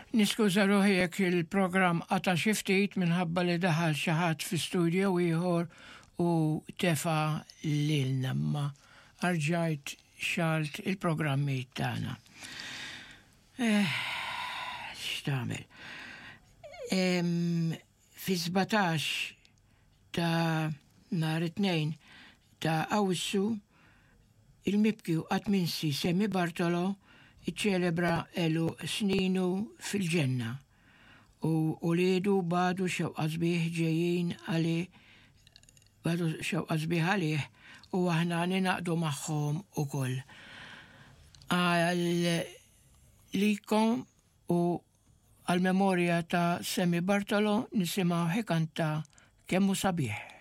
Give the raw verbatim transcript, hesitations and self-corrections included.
Niskuża ruħi jekk il-programm qata' xi ftit minħabba li daħal xi ħadd fi studio ieħor u tefa' lilna, imma rġajt xgħalt il-programmi tagħna. Eh, x'tagħmel? Fi sbatax ta' nhar it-Tnejn ta' Awwissu, il-mibki u qatt minsi Sammy Bartolo iċċelebra għeluq sninu fil-ġenna u uliedu bagħtu xewqa sbieħ ġejjin għalih bagħtu xewqa sbieħ għalih u aħna ningħaqdu magħhom ukoll. Għalikom u għal-memorja ta' Sammy Bartolo nisimgħu ikanta "Kemm Hu Sabiħ".